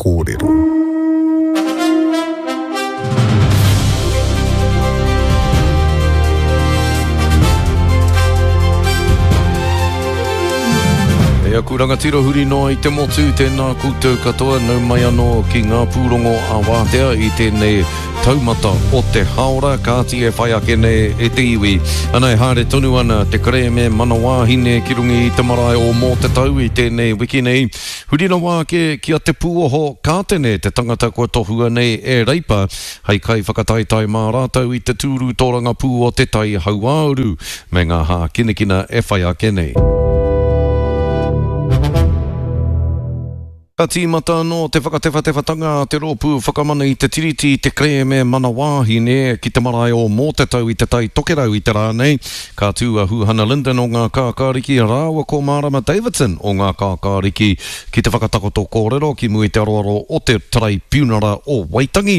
kōrero. E aku rangatira huri noa i te motu, tēnā koutou katoa, nau mai anō ki ngā pūrongo a Wātea i tēnei taumata o te haora, kāti e whai ake nei e te iwi. Ana e haere tonu ana te kerēme mana wāhine ki runga i te marae o Mōtatau i tēnei wiki nei. Huri rawa ake ki a Te Pūoho Kātene te tangata kua tohua nei e Reipa hei kaiwhakataetae mā rātou i te tūru tōrangapū o Te Tai Hauāuru me ngā hākinakina e whai ake nei. Ka tīmata anō te whakatewhatewhatanga a te Rōpū Whakamana i te Tiriti i te kerēme Mana Wāhine ki te marae o Mōtatau i Te Tai Tokerau i te rā nei. Ka tū a Huhana Lyndon o Ngā Kākāriki rāua ko Mārama Davidson o Ngā Kākāriki ki te whakatakoto kōrero ki mua i te aroaro o te Taraipiunara o Waitangi.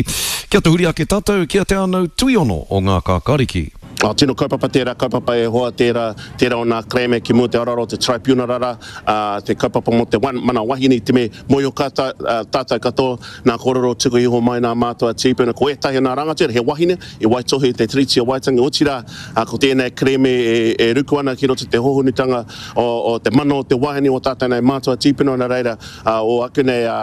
Kia tahuri ake tātou ki a Te Ānau Tuiono o Ngā Kākāriki. Oh, tino kaupapa tērā kaupapa e hoa, tērā, tērā o nā kerēme ki mua te aroaro o te Traipiunara rā, ā, te kaupapa mō te mana wahine i te me mōhio ka ta, ā, tātou katoa nā kōrero tuku iho mai nā mātua tīpuna, ko ētahi o nā rangatira he wahine i waitohu i te Tiriti o Waitangi, otirā, ā, ko tēnei kerēme e, e ruku ana ki roto i te hohonutanga o, o te mana o te wahine o tātou nei mātua tīpuna, nā reira, ā, o aku nei, ā,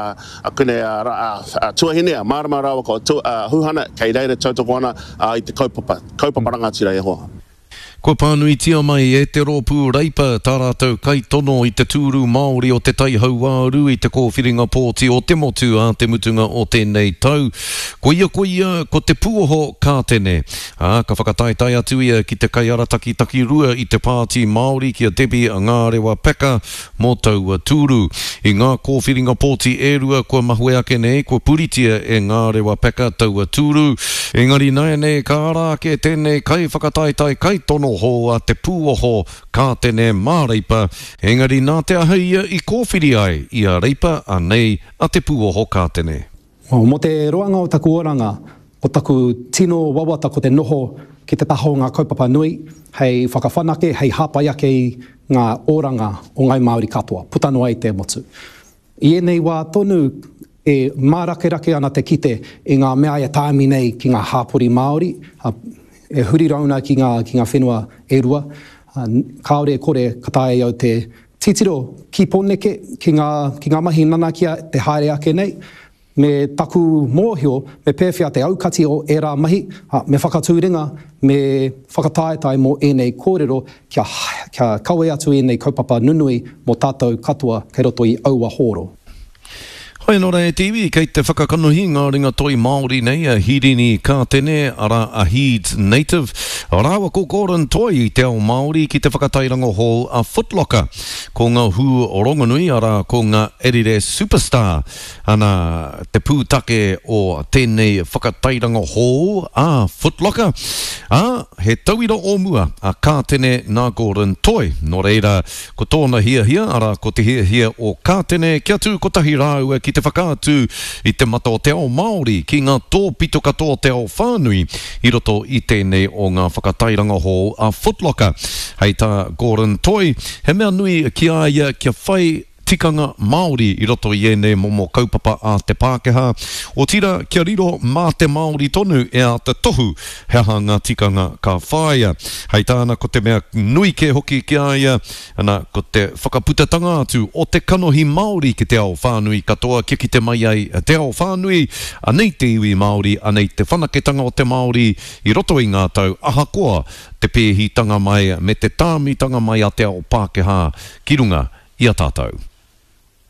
aku nei, ā, ā, ā, tuahine, a Mārama rāua ko tu, ā, Huhana, kei reira tautoko ana, ā, i te kaupapa, kaupapa rangatira e hoa. Kua pānuitia mai e te Rōpū Reipa tā rātou kaitono i te tūru Māori o Te Tai Hauāuru i te kōwhiringa pōti o te motu ā te mutunga o tēnei tau. Koia koia ko Te Puoho Kātene, ā, ka whakataetae atu ia ki te kaiarataki takirua i te Pāti Māori ki a Debbie Ngārewa Packer mō taua tūru. I ngā kōwhiringa pōti e rua kua mahue ake nei, kua puritia e Ngārewa Packer taua tūru. Engari nāianei ka ara ake tēnei kaiwhakataetae kaitono hou a Te Pūoho Kātene mā Reipa, engari nā te aha ia i kōwhiri ai i a Reipa, anei a Te Pūoho Kātene. Mō te roanga o taku oranga, ko taku tino wawata ko te noho ki te taha o ngā kaupapa nui hei whakawhanake, hei hāpai ake i ngā oranga o ngāi Māori katoa, puta noa i te motu. I ēnei wā tonu e mārakerake ana te kite i ngā mea e tāmi nei ki ngā hāpori Māori, e huri rauna ki ngā, ki ngā whenua e rua, kāore e kore ka taea e au te Titiro ki Pōneke, ki ngā, ki ngā mahi nanakia te haere ake nei, me taku mōhio me pēwhea te aukati o ērā mahi, ā, me whakatū ringa, me whakataetae mō ēnei kōrero kia, kia kawe atu ēnei kaupapa nunui mō tātou katoa kei roto i aua hōro. Hoi anō rā e te iwi, kei te whakakanohi ngā ringa toi Māori nei a Hirini Kātene, arā a Heeds Native, rāua ko Gordon Toi i te ao Māori ki te whakatairanga hou a Footlocker. Ko ngā hū rongonui, arā ko ngā Adidas Superstar, ana te pūtake o tēnei whakatairanga hou a Footlocker, ā, he tauira o mua a Kātene nā Gordon Toi. Nō reira, Ko tōna hiahia, arā, ko te hiahia o Kātene kia tū kotahi rāua ki te whakaatu i te mata o te ao Māori ki ngā tōpito katoa o te ao whānui i roto i tēnei o ngā whakatairanga hou a Footlocker. Hei tā Gordon Toi, he mea nui ki a ia kia whai tikanga Māori i roto i ēnei momo kaupapa a te Pākehā, otirā kia riro mā te Māori tonu e āta tohu He aha ngā tikanga ka whāia? Hei tāna ko te mea nui kē hoki ki a ia, ana, ko te whakaputatanga atu o te kanohi Māori ki te ao whānui katoa kia kite mai ai te ao whānui, anei te iwi Māori, anei te whanaketanga o te Māori i roto i ngā tau ahakoa te pēhitanga mai me te tāmitanga mai a te ao Pākehā ki runga i a tātou.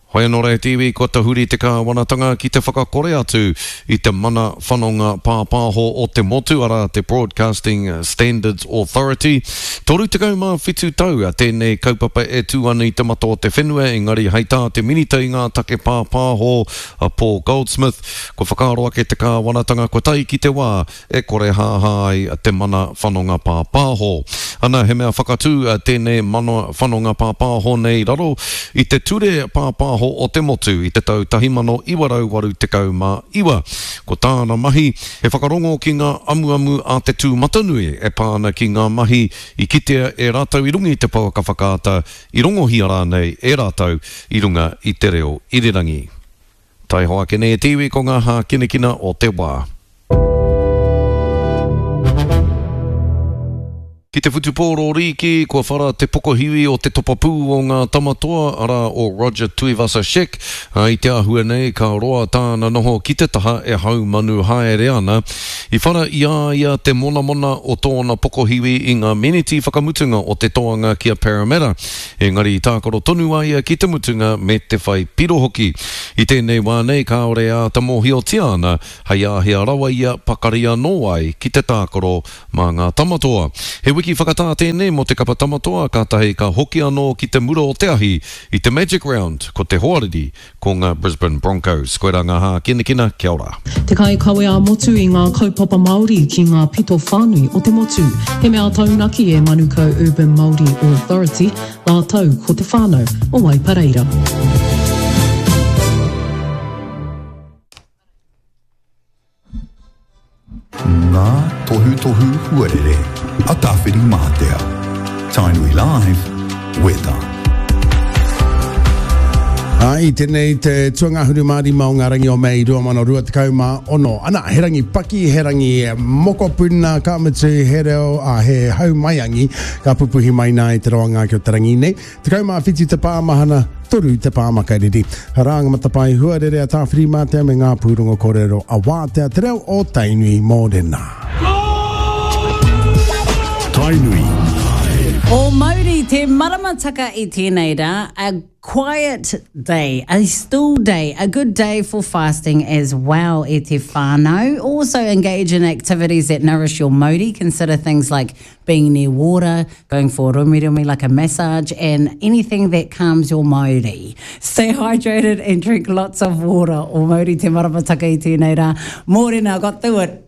Hoi anō rā e te iwi, kua tahuri te kāwanatanga ki te whakakore atu i te mana whanonga pāpāho o te motu, arā, te Broadcasting Standards Authority. 37 tau tēnei kaupapa e tū ana i te mata o te whenua, engari hei tā te Minita i ngā take pāpāho, a Paul Goldsmith, kua whakaaro ake te kāwanatanga kua tae ki te wā e korehāhā ai te mana whanonga pāpāho. Ana, he mea whakatū tēnei mana whanonga pāpāho nei raro i te Ture Pāpāho o te Motu i te tau 1989. Ko tāna mahi, he whakarongo ki ngā amuamu a te tūmatanui e pā ana ki ngā mahi i kitea e rātou i runga i te pouaka whakaata, i rongohia rānei e rātou i runga i te reo irirangi. Taihoa ake nei e te iwi ko ngā hākinakina o te wā. Ki te whutupōro rīki, kua whara te pokohiwi o te topapū o ngā Tamatoa, arā, o Roger Tuivasa-Sheck, ā, i te āhua nei ka roa tāna noho ki te taha e haumanu haere ana. I whara i a ia te monamona o tōna pokohiwi i ngā meneti whakamutunga o te toanga ki a Parramatta, engari i tākaro tonu a ia ki te mutunga me te whai piro hoki. I tēnei wā nei kāore e āta mōhiotia ana hei āhea rawa ia pakari anō ai ki te tākaro mā ngā Tamatoa. He wiki whakatā tēnei mō te kapa Tamatoa, kātahi ka hoki anō ki te mura o te ahi i te Magic Round, ko te hoariri ko ngā Brisbane Broncos. Koirā ngā hākinakina, kia ora. Te kaikawe ā-motu i ngā kaupapa Māori ki ngā pito whānui o te motu. He mea taunaki e Manukau Urban Māori Authority rātou ko te whānau o Waipareira. Ngā tohutohu huarere a Tāwhirimātea. Tainui Live, Weather. Ā, i tēnei te tuangahuru mā rima o ngā rangi o Mei 2026. Ana, he rangi paki, he rangi mokopuna, ka mutu, he reo, ā, he hau maiangi, ka pupuhi mai nā i te roanga ake o te rangi nei. 17 te pāmahana, 3 te pāmakariri. Rā ngā matapae huarere a Tāwhirimātea me ngā pūrongo kōrero a Wātea Te Reo o Tainui Mōrena. Tainui. O mauri te maramataka i tēnei rā, a quiet day, a still day, a good day for fasting as well e te whānau. Also engage in activities that nourish your mauri, consider things like being near water, going for a romiromi like a massage, and anything that calms your mauri. Stay hydrated and drink lots of water. O mauri te maramataka i tēnei rā. Mōrena, got through it.